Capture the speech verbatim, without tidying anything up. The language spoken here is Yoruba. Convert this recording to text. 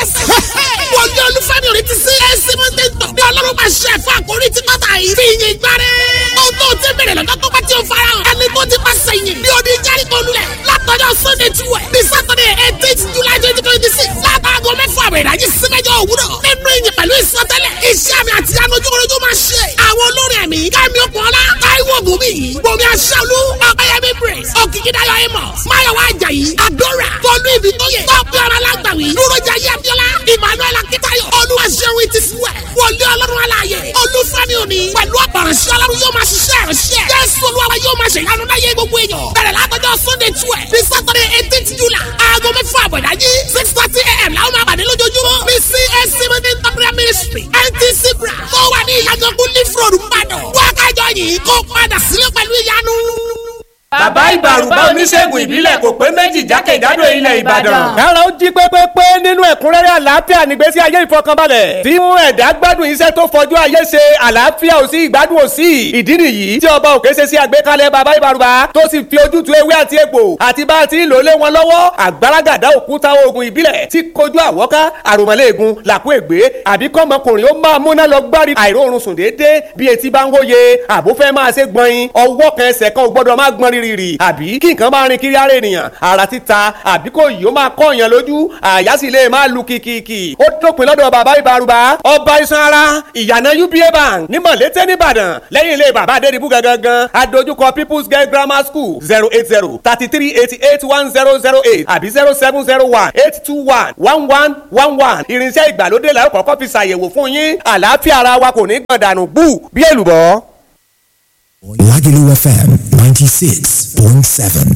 blessing. Wòlíì Olúfẹ́mi òní ti sí ẹ̀sì mọ́tẹ́tọ̀. Ní Ọlọ́run máa ṣe ẹ̀fọ́ àkórí tí kọ́ta yìí. Fi ìyìn gbáre. Ohun tó ti bẹ̀rẹ̀ lọ́jọ́ tó bá ti fara hàn. Ẹni tó ti pàṣẹ yìn. Bí odi Jẹ́ríkò lulẹ̀. Látọjọ́ Sunday twelve. Ní Saturday eighteenth July twenty twenty six. Látàgọ́ mẹ́fà àbẹ̀ ìdájí sí mẹ́jọ òwúrọ̀. Nínú ìyìn pẹ̀lú ìsọtẹ́lẹ̀. Iṣẹ́ àmì àti anujúkorojú máa ṣe. Àwọn olórin ẹ̀mí Kẹ́mi Okunola, Táíwò Gòmí, Bòmí Aṣáolú, Ọ̀pẹ́yẹmí Praise, Òkìkídáyọ̀ Amos, Máyọ̀wá Àjàyí, Àdọ́rà, Tolú Ìbítóyè, Tọ́pẹ́ Ọ̀rọ̀ Alágbàwí, Dúrójayé Abíọ́lá, Emmanuel Akíntayọ̀, Olúwaṣeun it is well, Wòlíì Ọlọ́run Alààyè, Olúfẹ́mi Òní, pẹ̀lú ọ̀pọ̀ránṣẹ́ Ọlọ́run yóò máa ṣiṣẹ́ ìránṣẹ́. Jésù Olúwa yóò máa ṣèyanu láyé gbogbo èèyàn. Bẹ̀rẹ̀ látọjọ́ Sunday twelve ní Saturday eighteenth July, aago mẹ́fà àbọ̀dájí, six thirty a.m. làwọn máa pàdé lójoojúmọ́. Ní CAC Meeting Prayer Ministry, NTC Bra, tó wà ní ìyàgànkú Leaf Road, Ìbàdàn. Wákàjọ yìí kó padà sílé pẹ̀lú ìyanu. Bàbá Ìbàrùbá oníṣègùn ìbílẹ̀ kò pé méjì jákèjádò ilẹ̀ Ìbàdàn. Kára ó jí pépépé nínú ẹ̀kúnrẹ́rẹ́ àlàáfíà nígbésí ayé ìfọkànbalẹ̀. Tí mú ẹ̀dá gbádùn iṣẹ́ tó fọjú ayé ṣe àlàáfíà ò sí ìgbádùn ò sí. Ìdí nìyí tí ọba òkè ṣe sí àgbékalẹ̀ bàbá Ìbàrùbá tó sì fi ojútùú ewé àti egbò àti bá a ti ń lò lé wọn lọ́wọ́. Àgbàràgàdá òkúta oògùn ìbílẹ̀ tí kojú àwọ́ká àròmọ̀lẹ́ẹ̀gùn làkú ègbé àbí kọ́mọkùnrin ó máa múná lọ gbárí àìróorun sùn déédéé bí etí bá ń wóye àbúfẹ́ máa ṣe gbọ̀nyin ọwọ́ kan ẹsẹ̀ kan ò gbọ́dọ̀ má gbọ́n rírì rì àbí kí nǹkan máa rin kiri ara ènìyàn ara títa àbí kò yìí ó máa kọ́ èèyàn lójú àyà sì lè máa lu kìkìkì ó dópin lọ́dọ̀ bàbá Ìbàrùbá ọba iṣan ara ìyànà UBA bank ní Mọ̀lété nìbàdàn lẹ́yìn ilé bàbá Adédìbú gangan adójúkọ People's Girl Grammar School zero eight zero thirty three eighty eight one zero zero eight àbí zero seven zero one eight two one one one one one irinṣẹ́ ìgbàlódé la ó kọ́kọ́ fi ṣàyẹ̀wò fún yín àlàáfíà ara wa kò ní gbọ̀n dànù bú bí èlùbọ́. Lagelu F M ninety-six point seven.